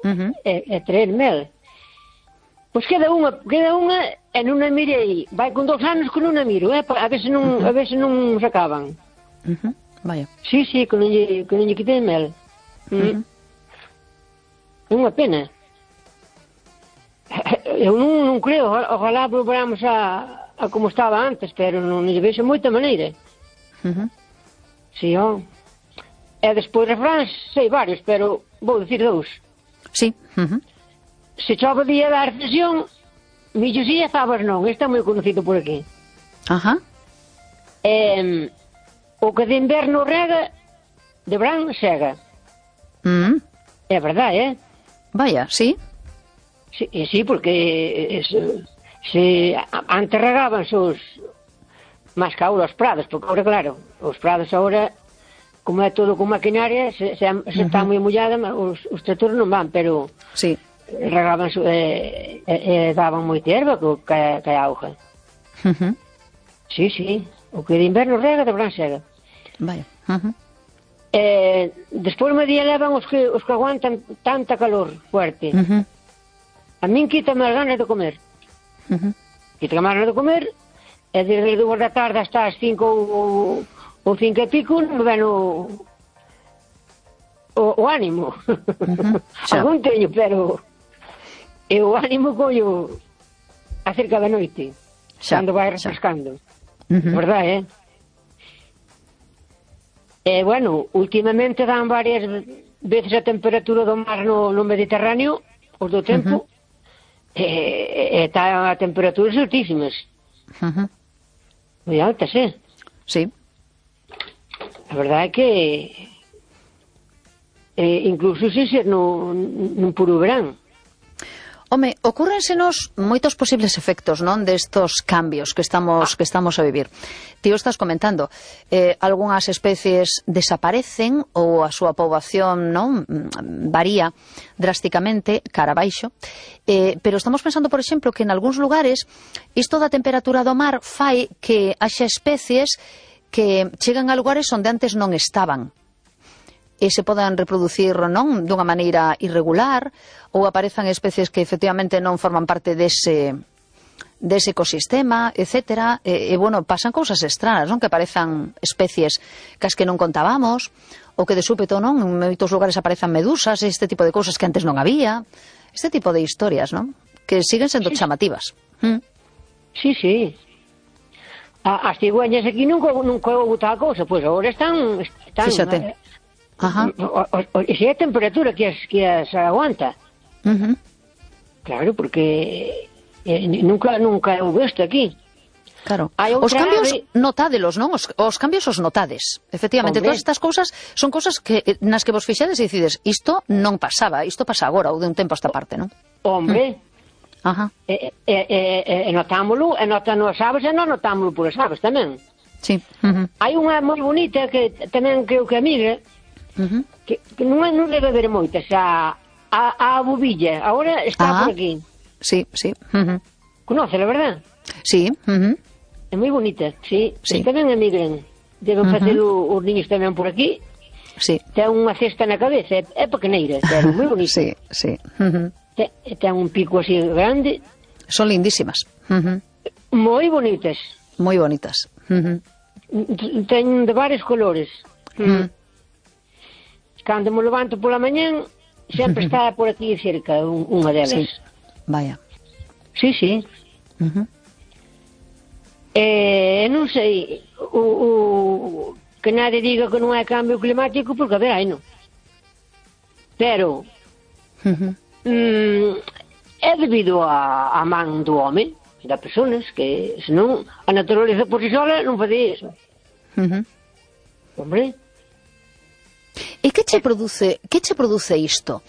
e traer mel. Pois queda unha e non a mirei. Vai con 2 anos que non a miro, a ver se non se acaban. Vaya. Sí, que non lle quitei mel. Unha pena. Eu non creo, ojalá volveramos a como estaba antes, pero non lle vexo moita maneira. Sí, E despois refráns, sei varios, pero vou dicir 2. Sí. Se chove día da recesión, millo si e fabas non. Este é moi conocido por aquí. O que de inverno rega, de verán sega. É verdade, Vaya, sí. Sí, porque se antes regábanse máis que ahora os prados, porque ahora, claro, os prados ahora, como é todo con maquinaria, se está moi mollada, os tractores non van, pero sí, regábanse e daban moita erva que a auga. Sí, o que de inverno rega, de verán sega. Vaya. Despois me día levan os que aguantan tanta calor fuerte. A min quítame as ganas de comer. Quítame as ganas de comer, e desde 2 da tarde hasta as 5 ou 5 e pico non me ven o ánimo. Algún teño, pero o ánimo collo acerca da noite, cando vai refrescando. Verdade, bueno, últimamente dan varias veces a temperatura do mar no Mediterráneo, os do tempo, está a temperaturas altísimas. Moi altas, Sí. A verdade é que incluso se ser nun puro verán. Home, ocúrrensenos moitos posibles efectos, non, destos cambios que estamos a vivir. Ti o estás comentando, algunhas especies desaparecen ou a súa poboación non varía drásticamente cara abaixo, pero estamos pensando, por exemplo, que en algúns lugares isto da temperatura do mar fai que haxa especies que chegan a lugares onde antes non estaban e se podan reproducir non dunha maneira irregular, ou aparezan especies que efectivamente non forman parte dese ecosistema, etcétera, e bueno, pasan cousas extrañas, non, que aparezan especies cas que non contábamos, ou que de súpeto, non, en moitos lugares aparezan medusas, este tipo de cousas que antes non había, este tipo de historias, non, que siguen sendo chamativas. Sí. As cigüeñas aquí nunca houve tal cousa, pois agora están Fíxate. E se é a temperatura que as aguanta. Claro, porque nunca houve isto aquí. Claro. Os cambios notádelos, non? Os cambios os notades. Efectivamente, todas estas cousas son cousas que nas que vos fixades e decides, isto non pasaba, isto pasa agora ou de un tempo a esta parte, non? Hombre. Notámoslo, e notan as aves e non notámoslo por as aves tamén. Sí. Hai unha moi bonita que tamén creo que amiga, que non debe haber moitas, a bubilla, agora está por aquí. Sí. Conócela, verdad? Sí. É moi bonita, sí. Tamén emigran. Deben facer os niños tamén por aquí. Sí. Ten unha cesta na cabeza, é pequeneira, pero moi bonita. Sí. Ten un pico así grande. Son lindísimas. Moi bonitas. Moi bonitas. Ten de varios colores. Cando me levanto pola mañán, sempre está por aquí cerca unha delas. Sí. Vaya. Sí. Non sei, que nadie diga que non hai cambio climático, porque a ver, hai non. Pero é debido a man do home, das personas, que senón a naturaleza por si sola non facía iso. Hombre. E que che produce isto?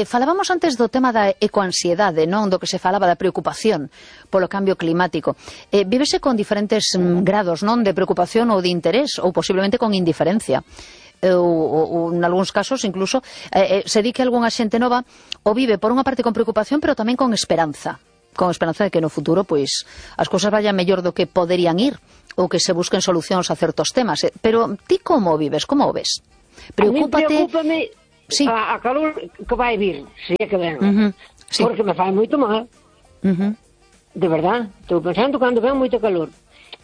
Falábamos antes do tema da ecoansiedade, non? Do que se falaba da preocupación polo cambio climático. Vívese con diferentes grados, non? De preocupación ou de interés, ou posiblemente con indiferencia. Ou en algúns casos incluso se di que algunha xente nova o vive por unha parte con preocupación, pero tamén con esperanza de que no futuro pois as cousas vayan mellor do que poderían ir, ou que se busquen solucións a certos temas. Pero ti como vives, como o ves? Preocúpate... Sí. a calor que vai vir, se é que ven. Sí. Porque me fai moito mal. De verdad, estou pensando cando ven moito calor.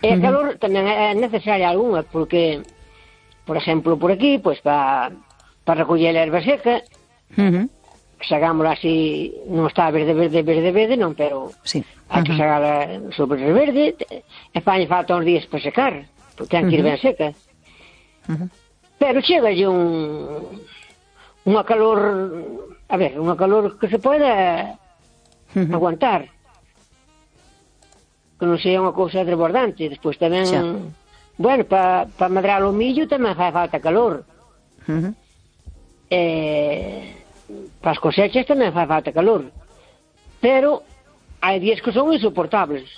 E a calor tamén é necesaria algunha, porque, por exemplo, por aquí, pois para recoller a erva seca, sagámola así, non está verde, non, pero sí. hai que sagala sobre verde, e fai falta uns días para secar, porque ten que ir ben seca. Pero chegalle unha calor, a ver, unha calor que se poida aguantar, que non sea unha cousa desbordante. Despois tamén, bueno, para medrar o millo tamén fai falta calor. Para as cosechas tamén fai falta calor, pero hai días que son insoportables,